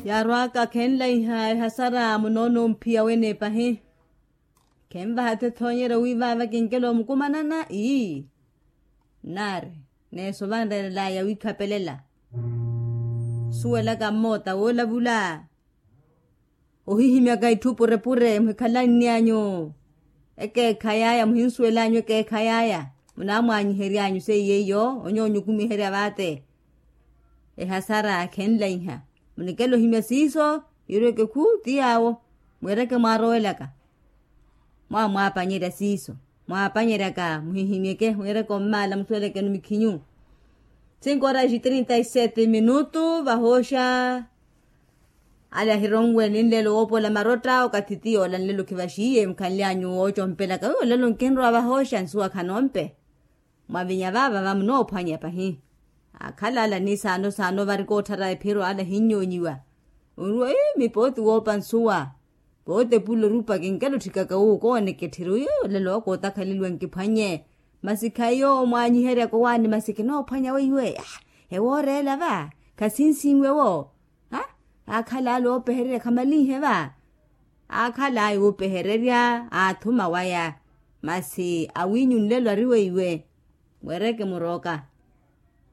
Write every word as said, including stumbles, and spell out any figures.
Yaarwaka khenlaiha ehasara munoono omphiya wene pahi. Khenvaha thethoonyerya wi vaava kinkela omukumanana ii. Nnaari neeso vanreerelaya wikhapelela. Suwelaka mmoota woolavula. Ohihimyaka itthu purepure muhikhalanni anyu. Ekeekha yaya muhinsuwela anyu ekeekha yaya. Munaamwaanyiherya anyu seiye iyo onyoonyukumiherya vaate. Ehasara khenlaiha. Munikela ohimya siiso. Yirweke khu ti yaawo. Mwiireke mwaarowelaka. Mwaamwaapanyerya siiso. Mwaapanyeryaka muhihimyeke mwiireke ommaala musuwelekeni mikhinyu. Cinco horas e trinta e sete minutu vahooxa. Ale ahironwe ni nlelo woopola marotta okathi ti yoola nlelo khivaxiye mukhanle anyu woocompelaka wiwo nlelo nkinrowa vahooxa nsuwa khanompe. Mwavinya vaava vamunoophwanya pahi. Akhala ala ni saano saano vari kootthara ephiro ala ahinyoonyiwa. Onruwa ii mipooti woopa nsuwa. Pooti epulo orupa kinkela otthikaka wuwo koonekettheri uyo olelo wa kootakhaleliwa nkiphwanye. Masi khayi yoowo mwaanyiheryaka owaani masi kinoophwanya weiwe. Ewooreela va khasinsinwe wo. Aakhala ale oopehererya khamalinhe va. Aakhala ayi oopehererya aathuma waya. Masi awinyu nlelo ari weiwe. Mweereke murooka.